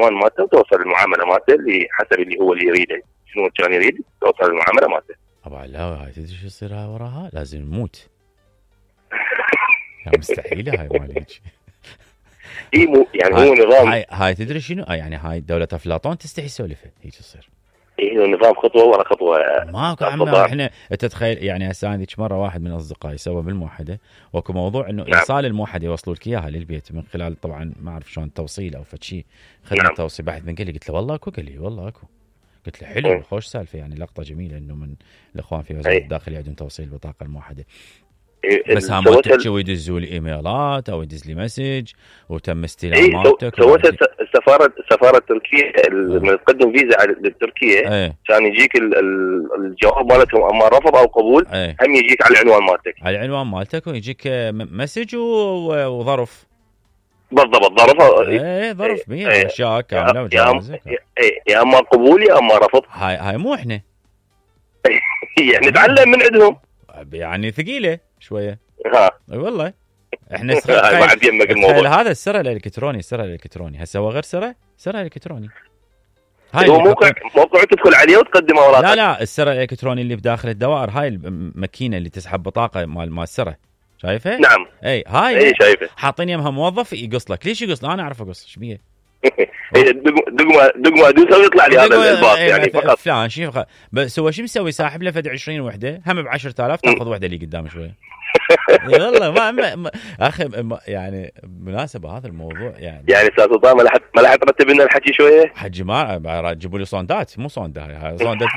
العنوان مالته وتوصل المعامله مالته اللي حسب اللي هو اللي يريده، شنو كان يريد توصل المعامله مالته. طبعا لا، هاي تدري شو يصير وراها؟ لازم نموت. لا مستحيله هاي مالك. اي مو يعني هو نظام. هاي تدري شنو؟ يعني هاي دولة افلاطون تستحي تسولفها هيك تصير. اي نظام خطوه ورا خطوه. ماكو عمنا احنا تتخيل يعني هسه ذيك مره واحد من اصدقائي سوى بالموحده وكو موضوع انه ايصال الموحده يوصلوا لك اياها للبيت من خلال طبعا ما اعرف شلون توصيل او فشي خدمه توصيل. بعد من قال لي قلت له والله اكو، قال لي والله اكو. قلت له حلو خوش سالفه يعني لقطه جميله انه من الاخوان في وزاره الداخليه عندهم توصيل البطاقه الموحده. بس هم ما تحكي ويدزوا لي ايميلات او يدز لي مسج وتم استلام مالتك. سوت السفاره التركيه لما تقدم فيزا لتركيا كان يجيك الجواب مالتهم اما رفض او قبول هم يجيك على العنوان مالتك، على العنوان مالتك ويجيك مسج وظرف. بالضبط ظرف. ظرف بيه اشياء كامله يا اما قبول يا اما رفض. هاي مو احنا يعني نتعلم من عندهم يعني ثقيله شويه. اي والله احنا تخيل هذا السر الالكتروني هسه هو غير سر الكتروني. هاي هو موقع تدخل عليه وتقدم اوراقك. لا السر الالكتروني اللي بداخل الدوائر، هاي الماكينه اللي تسحب بطاقه مال السره شايفه؟ نعم هاي شايفه حاطين يمها موظف يقص لك. ليش يقص؟ انا اعرف اقص ايش بيه دقمه ادوسها ويطلع لي هذا الباص يعني فقط فلان شيء. بس هو شو مسوي؟ ساحب له فد 20 وحده هم ب 10,000 تاخذ وحده اللي قدام شويه. والله ما اخي يعني مناسبه هذا الموضوع يعني استاذ سلطان ما لحد ترتب لنا الحكي شويه. حجي ما تجيبوا لي صوندات، مو صوندا هاي صوندات.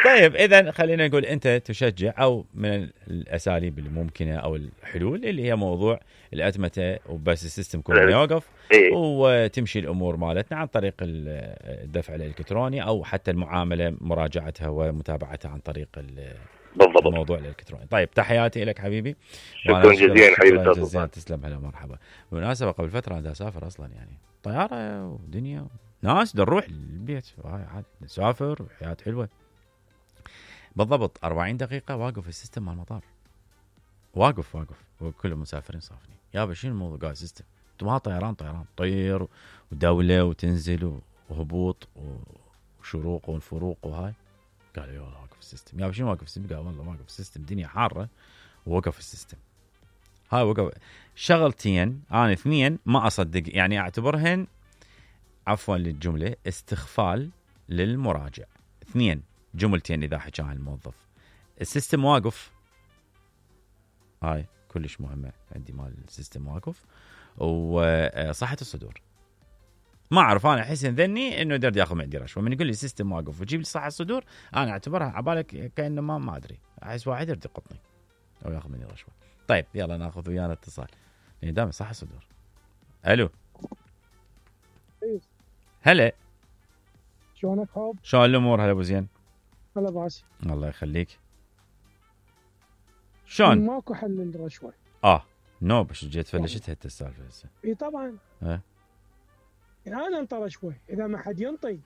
طيب اذا خلينا نقول انت تشجع او من الاساليب الممكنه او الحلول اللي هي موضوع الاتمته وبس السيستم كله يوقف وتمشي الامور مالتنا عن طريق الدفع الالكتروني او حتى المعامله مراجعتها ومتابعتها عن طريق الموضوع الالكتروني. طيب تحياتي لك حبيبي. شكرا جزيلا حبيبي جزيلا. تسلم. هلا مرحبا. بالمناسبه قبل فتره انا اسافر اصلا يعني طياره ودنيا ناس نروح البيت عادي نسافر وحياه حلوه. بالضبط 40 دقيقة واقف السيستم مال المطار. واقف وكل المسافرين صافنين. يابا شنو الموضوع؟ قاعد سيستم انتم ما طيران طير ودولة وتنزل وهبوط وشروق والفروق وهاي. قالوا يلا واقف السيستم. يابا شنو واقف السيستم؟ قال والله واقف السيستم دنيا حارة ووقف السيستم. هاي وقف شغلتين انا اثنين ما اصدق يعني اعتبرهن عفوا للجملة استخفال للمراجع. اثنين جملتين إذا حكى عن الموظف السيستم واقف. هاي كلش مهمة عندي مال السيستم واقف وصحة الصدور. ما أعرف أنا أحس ذني إنه يقدر ياخذ عندي رشوة من يقول لي السيستم واقف وتجيب لي صحة الصدور. أنا أعتبرها عبالك كأنه ما أدري. أحس واحد يرد يقطني أو ياخذ مني رشوة. طيب يلا ناخذ ويانا اتصال لأن دام صحة الصدور. ألو هلا شلونك هاب؟ شلون الأمور؟ هلا أبو زين. هلا باسي. الله يخليك. شلون؟ ماكو حل للرشوة. نو بس جيت فلشتها السالفة هسه. اي طبعا. يعني انا انطى رشوة، اذا ما حد ينطي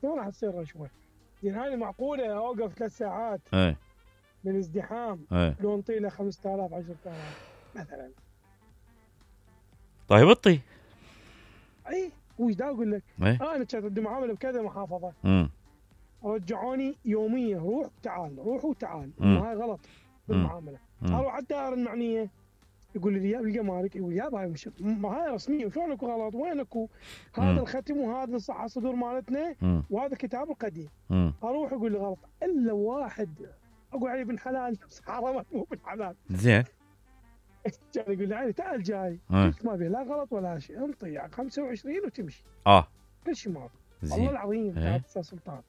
شلون راح تصير رشوة؟ يعني هاي معقولة اوقف 3 ساعات من ازدحام لو انطي له 5,000 10,000 مثلا. طيب اطي. اي وش دا اقول لك؟ انا كنت ادي معاملة بكذا محافظة. رجعوني يوميا روح وتعال. هاي غلط بالمعامله. اروح على الدائره المعنيه يقول لي يا الجمارك يقول يا هاي مش هاي رسميه وشلون اكو غلط وين اكو هذا الختم وهذا الصحه الصدور مالتنا وهذا الكتاب القديم. اروح اقول لي غلط الا واحد اقول عليه بن حلال بس حرمت مو بن حلال. زين كان يقول لي علي تعال جاي ما به لا غلط ولا شيء انطي 25 وتمشي. كل شيء ما والله العظيم يا استاذ سلطان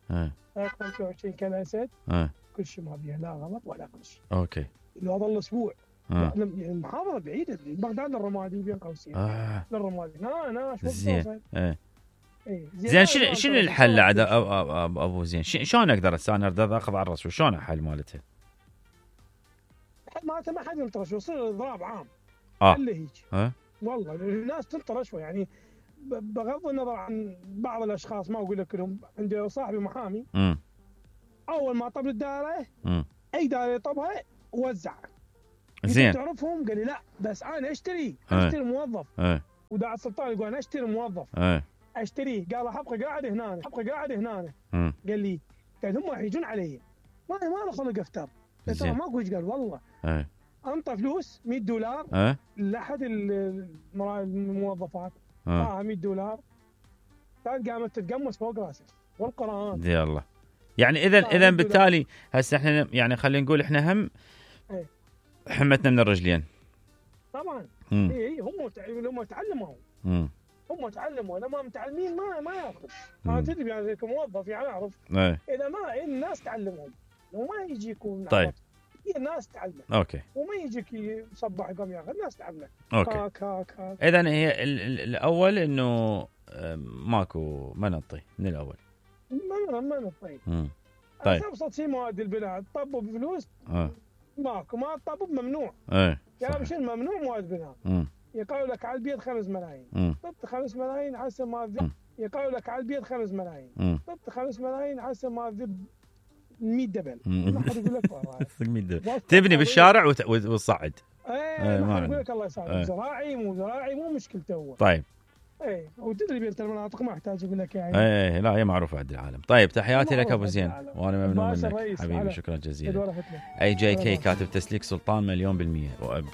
25 كالاسد كل شيء ما بيها لا غلط ولا كل شيء. اوكي لو هذا الاسبوع يعني المحافظه بعيده بغداد للرمادي بين قوسين للرمادي شو زين زين شنو الحل عاد ابو زين؟ شلون اقدر انا اخذ على الرسول؟ شلون الحل مالته؟ الحل مالته ما حد ينطر شو يصير اضراب عام اللي هيك والله الناس تنطر شوي يعني بغض النظر عن بعض الاشخاص ما اقول لك كلهم. عندي صاحبي محامي اول ما طب الدائره اي دائره يطبها وزع. زين تعرفهم؟ قال لي لا بس انا اشتري موظف وداع السلطان يقول انا اشتري موظف اشتريه، قال حبقى قاعد هنا قال لي قال هم يحيجون علي ما له خلق افتر، ترى ماكو ايش قال والله انطى فلوس $100 لاحد الموظفات $100 كانت قامت تتقمص فوق راسه والقران دي الله. يعني اذا بالتالي هسه احنا يعني خلينا نقول احنا هم حمتنا من الرجلين طبعا. اي هم تعلموا لما متعلمين ما ياخذ. انا تدري يعني كموظف يعني اعرف اذا ما الناس تعلمهم وما يجيكم. طيب الناس تعلم اوكي وما يجيك يصبح يقوم ياخذ، الناس تعلم. اوكي اذا هي الاول انه ماكو منطي من الاول ما نطي. طيب ابسط شيء مواد البناء تطبوا بفلوس ماكو، ما تطبوا ممنوع. يعني مش ممنوع مواد بناء. يقالوا لك على البيت 5 ملايين طبت 5 ملايين حسب ما ذب. يقالوا لك على البيت 5 ملايين طبت 5 ملايين حسب ما ذب 100 دبل. ما حد يقول لك والله تبني بالشارع وتصعد. ما حد يقول لك الله يسعدك زراعي مو زراعي مو مشكلته هو. طيب وتدري بنت المناطق ما احتاج اقول لك يعني. لا هي معروفه عند العالم. طيب تحياتي لك ابو زين وانا ممنون منك حبيبي، شكرا جزيلا. AJK كاتب تسليك سلطان 1,000,000%.